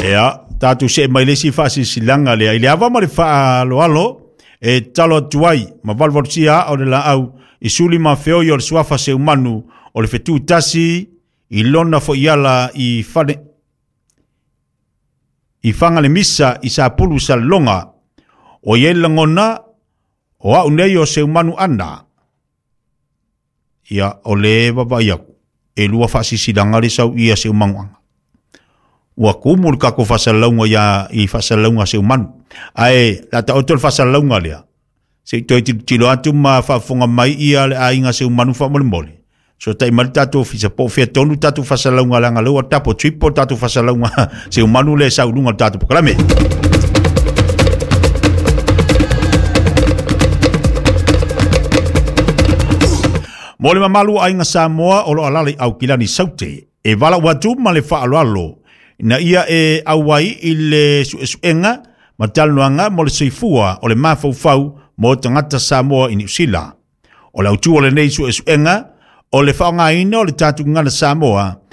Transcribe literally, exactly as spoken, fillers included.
Ia, tatou see mai le isi faasilasilaga lea i le ava ma le faaaloalo e tatalo atu ai ma valuvalusia aa o le laau i suli ma feoi o le suafa seumanu o le fetu tasi i lona foiala i fale i faga le misa i Sapulu Salelologa o i ai le lagona o au nei o Seumanu ana. Ia, o le vaavaai aku e lua faasilasilaga le sau ia Seumanuaga. Ua kumu le tatou faasalalauga ia i faasalalauga a Seumanu. Ae o le a taoto le faasalalauga lea se i toe tilotilo atu ma faafofoga mai ia le aiga Seumanu faamolemole. So tai mai le tatou ofisa po o fea tonu tatou faasalalauga leaga lea ua double triple tatou faasalalauga Seumanu lea e sau i luga o le tatou polokalame. Mo le mamalu o aiga Samoa o lo o alaala i Aukilani Saute, e valaau atu ma le faaaloalo ina ia e auai i le suesuega ma talanoaga mo le soifua o le mafaufau mo tagata Samoa i Niu Sila. O le autu o lenei suesuega o le faaaogaina o le tatou gagana Samoa